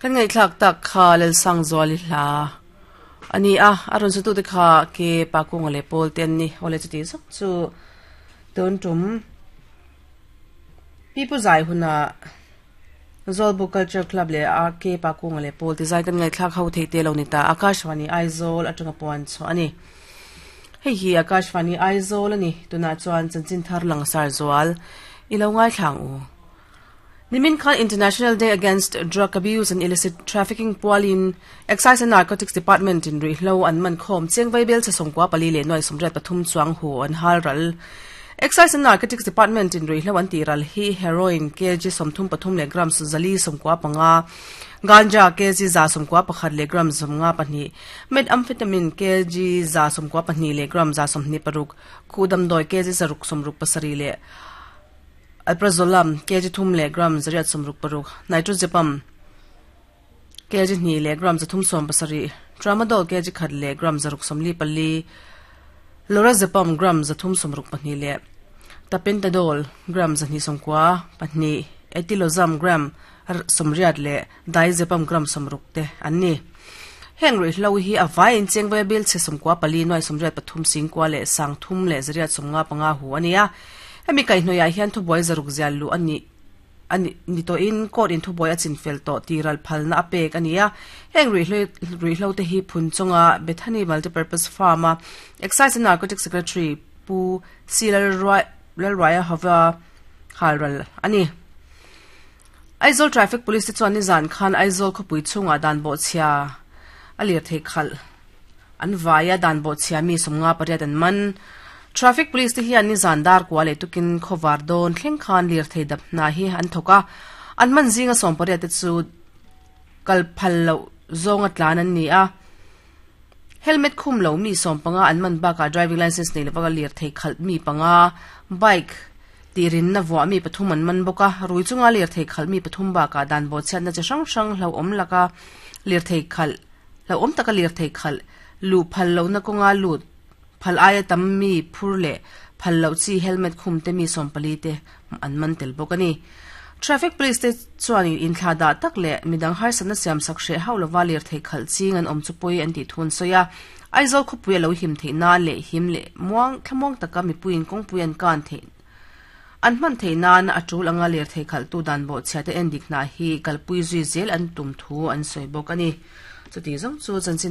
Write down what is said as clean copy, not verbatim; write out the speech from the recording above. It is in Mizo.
Kan ngaihthlak tak kha Lalsangzuali hla a ni a, a rawn sutute kha ke pa kunga leh pawl te an ni. Awle chuti zawk chu tun tum Pipu zai huna Zawlbuk Culture Club leh a ke pa kunga leh pawl te zai kan ngaihthlak ho theih te lo ni ta. Akashvani Aizawl atanga puan chhuah a ni. Hei hi Akashvani Aizawl a ni. Tunah chuan chanchin thar langsar zual i lo ngaithla ang u. Nimin khan International Day Against Drug Abuse and Illicit Trafficking pualin Excise and Narcotics Department in ruihhlo an man khawm cheng vaibel chhe sawmkua pali leh nuai sawmriat pathum chuang hu an hal ral. Excise and Narcotics Department in ruihhlo an tih ral hi heroin kg 33 leh grams 475, ganja kg 191 leh grams 52, methamphetamine kg 192 leh gram 126, khuh damdawi kg 667 leh Alprazolam, kg thum leh gram 866, Nitrazepam, kg hnih leh gram 370, Tramadol, kg khat leh gram 644, Lorazepam, gram 362 leh Tapentadol, gram 292, Etilozam, gram 80 leh Diazepam, gram 60 te an ni. Heng ruihhlo hi a vaiin chengvaia bil chhe sawmkua pali nuai sawmriat pathum singkua leh sang thum leh zariat sawmnga panga hu a ni a. Hemi kaihhnawihah hian thubuai zaruk zial luh a nih a ni ni tawhin court in thubuai a chinfel tawh tih ral phalna a pek a ni a. Heng ruihhlo ruihhlo te hi phun chunga Bethany Multipurpose Farm a Excise and Narcotics Secretary Pu C Lalruai Lalruaia hova halral a ni. Aizawl Traffic Police te chuan nizan khan Aizawl khawpui chhungah dan bawhchhia a lirthei khalh an vai a, dan bawhchhia mi sawmnga pariat an man. Traffic Police te hian nizan dar kua leh tukin khawvar dawn thleng khan lirthei dap hna hi an thawk a, an man zinga sawm pariat te chu kal phal loh zawnga tlan an ni a. Helmet khum lo mi sawm panga an man bakah driving licence nei lova lirthei khalh mi panga, bike tihrinna vuah mi pathum an man bawk a, rui chunga lirthei khalh mi pathum bakah dan bawhchhiatna chi hrang hrang hlauhawm laka lirthei khalh hlauhawm taka lirthei khalh luh phal lohna kawnga lut phal aia tam mi phur leh phal loh chi helmet khum te mi sawm pali te an man tel bawk a ni. Traffic Police te chuan inthlah dah tak leh midang harsatna siam sak hreh hauh lova lirthei khalh ching an awm chu pawi an tih thu an sawi a. Aizawl khawpui a lo him theih nan leh him leh muang thlamuang taka mipuiin kawngpui an kan theih an hman theih nan a tul anga lirthei khalhtu dan bawhchhia te endik hna hi kalpui zui zel an tum thu an sawi bawk a ni. Chuti zawng chu chanchin.